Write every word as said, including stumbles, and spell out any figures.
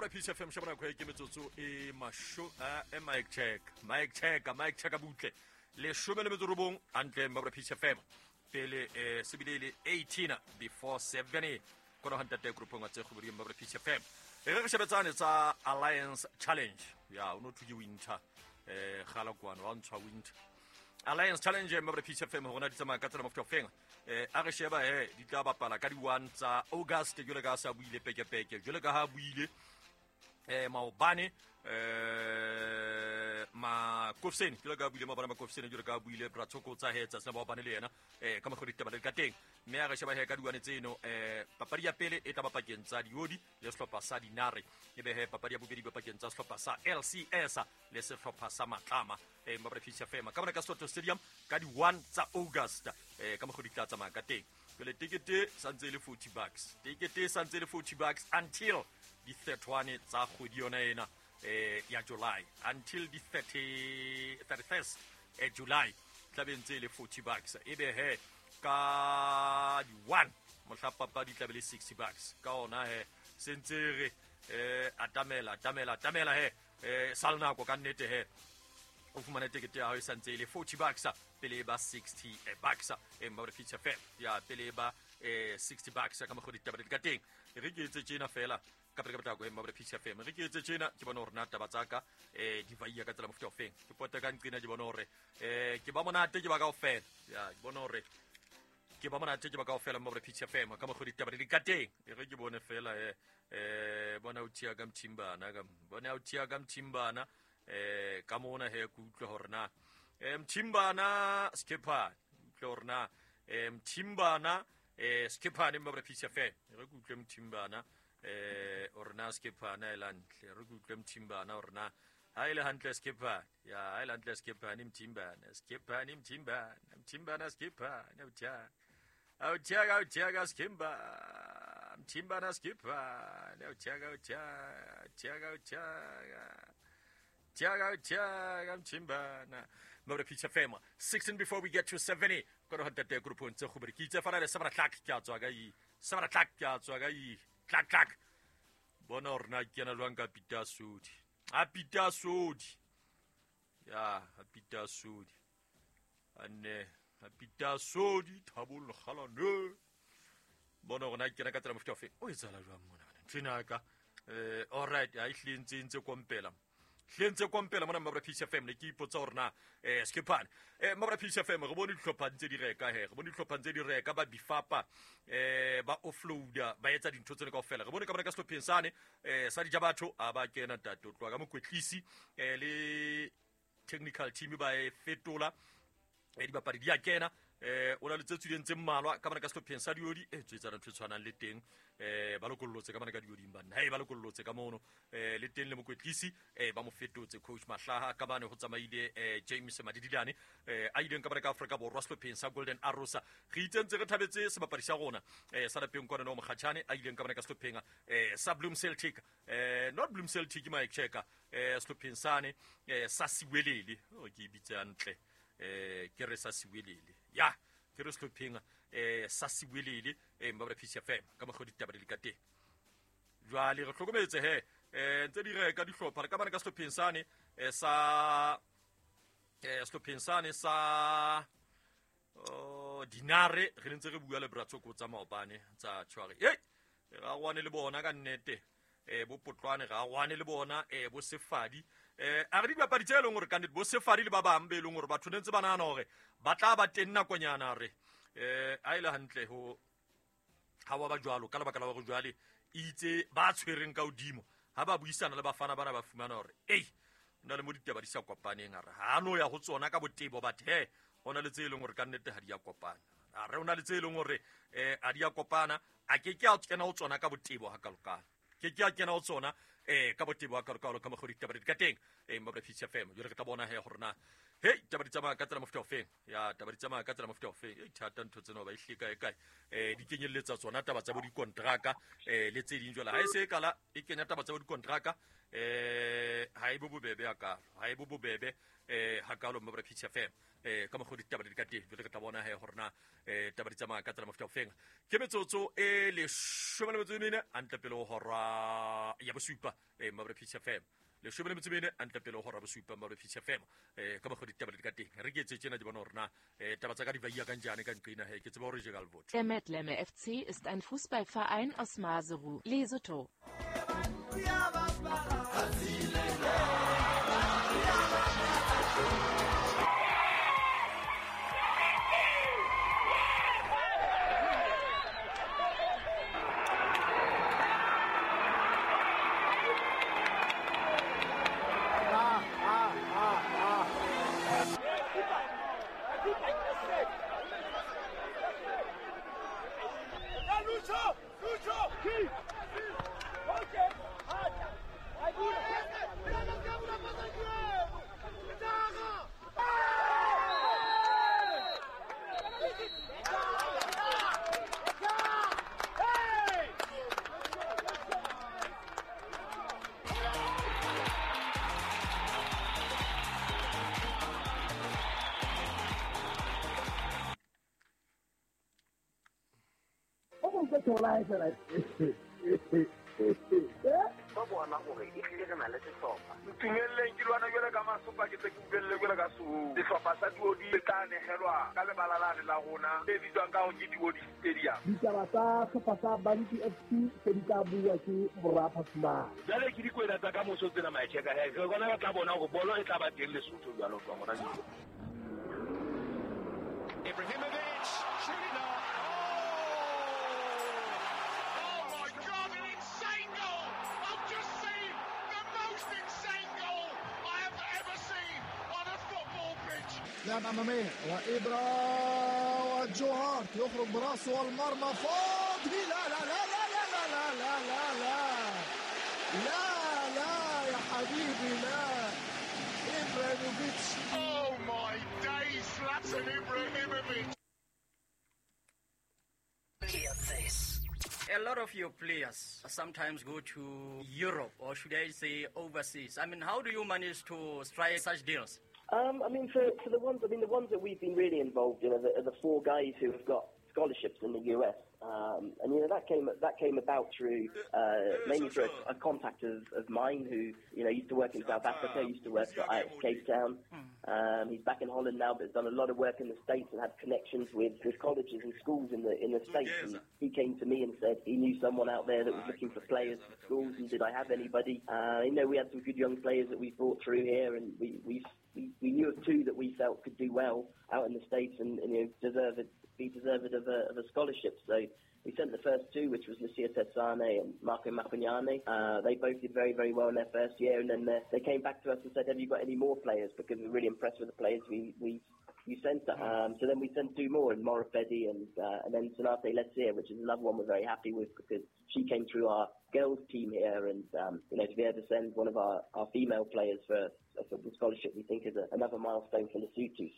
Mabra Peace F M shebana kwa ke metsotso e masho e mic check mic check mic check butle leshome le metso robong hantle Mabra Peace F M pele eh sebile le eighteen before seven kona hantate groupong tse go Mabra Peace F M e re shebetsane tsa Alliance Challenge ya o no thuke winter eh gala kwana wa ntshwa winter Alliance Challenge Mabra Peace F M hona di tsamaya ka tsela mofuta ofeng eh a re sheba he di tla bapala ka di one tsa August jole ka sa buile peke peke jole ka ha buile eh maobane eh ma Kofseni jole ka buile maobane ma Kofseni jole ka buile Bratshoko tsa hetsa sena maobane le yena eh ka mogodi taba le ka teng mme a re sheba he ka di one tseno eh papadi ya pele e tla bapakeng tsa Diodi le sehlopha sa Dinare e be he papadi ya bobedi bapakeng tsa sehlopha sa L C S le sehlopha sa Matlama eh Mabra Peace F M ka bona ka Soto Stadium ka di one tsa August eh ka mogodi tla tsamaya ka teng jole tikete santse le forty bucks tikete santse le forty bucks until di thirty-one tsa kgwedi yona ena eh ya July until di thirty thirty-first eh July tla be ntse le forty bucks e be he ka di one mohla papadi tla be le sixty bucks ka ona he sentse re eh atamela atamela atamela he eh sal nako ka nnete he o fumane tekete ya hao e santse le forty bucks pele ba sixty bucks e Mabra Peace F M ya pele ba eh sixty bucks ka mogodi taba di ka teng re ke etse tjena fela ka pele ka potlako e Mabra Peace F M re ke etse tjena ke bona hore na taba tsa ka eh di vaia ka tsela mofuta ofeng ke pota ka nqina ke bona hore eh ke ba monate ke ba kaofela ya ke bona hore ke ba monate ke ba kaofela Mabra Peace F M ka mogodi taba di ka teng re ke bone fela eh eh bona o thia ka mthimbana ka bona o thia ka mthimbana eh ka mona he ke utlwe hore na eh mthimbana skipper utlwe hore na eh mthimbana eh skipper ne Mabra Peace F M re ke utlwe mthimbana eh hore na skipper na elantle re ke utlwe mthimbana hore na ha ile hantle skipper ya ha ile hantle skipper ni mthimbana skipper ni mthimbana mthimbana skipper ne uthia uthia uthia skimba mthimbana skipper ne uthia uthia uthia uthia Tiago, Tiago, Mchimbana. Mabra Peace F M. sixteen before we get to seventy. Koro hatate group ntse go bere ke itse fana le seven o'clock ke a tswa ka i. seven o'clock ke a tswa ka i. Clack clack. Bona hore na ke kena jwang ka Peter Sodi. A Peter Sodi. Ya, a Peter Sodi. Anne, a Peter Sodi Thabo Lekgalane. Bona hore na ke kena ka tsela mofuta ofe. O etsahala jwang mona bana? Nthwena ka. Eh, all right, a ihle ntse ntse kompela. Hlentse kompela mona Mabra Peace F M ne ke ipotsa hore na eh skipane eh Mabra Peace F M re bone dihlopha ntse di reka he re bone dihlopha ntse di reka ba bifapa eh ba offloada ba etsa dintho tsene kaofela re bone ka bona ka sehlopheng sane eh sa dijabatho a ba kena ntate o tloha ka mokwetlisi eh le technical team ba e fetola eh dibapadi di a kena eh o na le tse tswileng tse mmalwa ka bona ka sehlopheng sa Diodi e tswetsana ntho e tshwanang le teng eh ba lokollotse ka bona ka Dioding banna hey ba lokollotse ka mono eh le teng le mokwetlisi eh ba mo fetotse coach Mahlaha ka bane ho tsamaile eh James Madidilane eh a ileng ka bona ka Afrika Borwa sehlopheng sa Golden Arrows re itsentse re thabetse sebapadi sa rona eh sa lapeng kwana no Mokgatjhane a ileng ka bona ka sehlopheng eh sa Bloem Celtic eh not Bloem Celtic Mike Checker eh sehlopheng sane eh sa Siwelele o ke bitse hantle eh ke re sa Siwelele ya ke re sehlopheng eh sa Siwelele eh Mabra Peace F M ka mogodi taba di ka teng jwale re hlokometse he eh ntse di reka dihlopha re ka bana ka sehlopheng sane eh sa eh sehlopheng sane sa oh Dinare re ntse re bua le Bratshoko tsa maobane tsa tshware hey ra gwane le bona ka nnete eh bo potlwane ra gwane le bona eh bo sefadi eh a re dibapadi tse leng hore ka nnete bo sefadi le ba bang be leng hore batho ne ntse ba nahana hore ba tla ba teng nakonyana re eh a ile hantle ho ha wa ba jwalo ka lebaka la hore jwale itse ba tshwereng ka hodimo ha ba buisana le bafana bana ba fumana hore ei na le mo ditaba di sa kopaneng a re ha no ya ho tsona ka botebo bathe he hona le tse leng hore ka nnete ha di ya kopana a re ona le tse leng hore eh a di ya kopana a ke ke a kena ho tsona ka botebo ha kalokalo ke ke a kena ho tsona eh ka botebo ha kalokalo ka mogodi ditaba di ka teng eh Mabra Peace F M jwale re tla bona he hore na hey taba di tsamaya ka tsela mofuta ofeng ya taba di tsamaya ka tsela mofuta ofeng e thata ntho tsena ba ihleka e kae eh di kenyelletsa tsona taba tsa bo dikontraka eh le tse ding jwale ha e se kala e kenya taba tsa bo dikontraka Eh ha e bo bobebe hakalo, ha e bo bobebe eh hakalo mo Peach F M. Eh ka mokgwa ditaba di ka teng, jwale re tla bona he hore na eh taba di tsamaya ka tsela mofuta ofeng. Ke metsotso e leshome le metso e mene hantle pele ho hora ya bosupa eh mo Peach F M. Leshome le metso e mene hantle pele ho hora bosupa mo Peach F M. Eh ka mokgwa ditaba di ka teng. Re ke etse tjena di bona hore na eh taba tsa ka di ba iya kanjani ka nqina he ke tseba hore je ka lvotho. Der Metleme F C ist ein Fußballverein aus Maseru, Lesotho. Ba bona gore e tlile re na le sehlopha. Ntumelleng ke lwana jwale ka masopa ke tse ke ubelle jwale ka soo. Sehlopha sa Duodi le tla nehelwa ka lebala la la rona le bitswang ka hore ke Duodi Stadium. Ditaba tsa sehlopha sa Bantu F C se di tla bua ke Morapa Fumane. Jwale ke dikwena tsa ka moso tsena maecheka he. Re bona ba tla bona hore bolo e tla ba teng Lesotho jwalo tloha hona jwale. Ibrahimovic shooting up. لعب أمامية وإبرا وجو هارت يخرج براسه والمرمى فاضي. لا لا لا لا لا لا لا لا لا لا لا يا حبيبي لا. إبراهيموفيتش. Oh my days, Zlatan Ibrahimovic. Hear this. A lot of your players sometimes go to Europe, or should I say overseas. I mean, how do you manage to strike such deals? Um, I mean, for, for the ones, I mean, the ones that we've been really involved in are the, are the four guys who have got scholarships in the U S. Um, and you know that came that came about through uh, mainly through a, a contact of, of mine who you know used to work in South Africa, used to work for Ajax Cape Town. Um, he's back in Holland now, but has done a lot of work in the States and had connections with, with colleges and schools in the in the States. And he came to me and said he knew someone out there that was looking for players for schools, and did I have anybody? Uh, you know, we had some good young players that we brought through here, and we we we, we knew of two that we felt could do well out in the States and, and you know deserve it. Be deserved of a, of a scholarship. So we sent the first two, which was Lucia Tetsane and Marco Mapugnane. Uh, they both did very, very well in their first year, and then they, they came back to us and said, have you got any more players? Because we're really impressed with the players we, we you sent us. Um, so then we sent two more, and Morafedi and, uh, and then Sonate Letzier, which is another one we're very happy with because she came through our girls team here, and um, you know, to be able to send one of our, our female players for a football scholarship, we think is a, another milestone for Lesotho.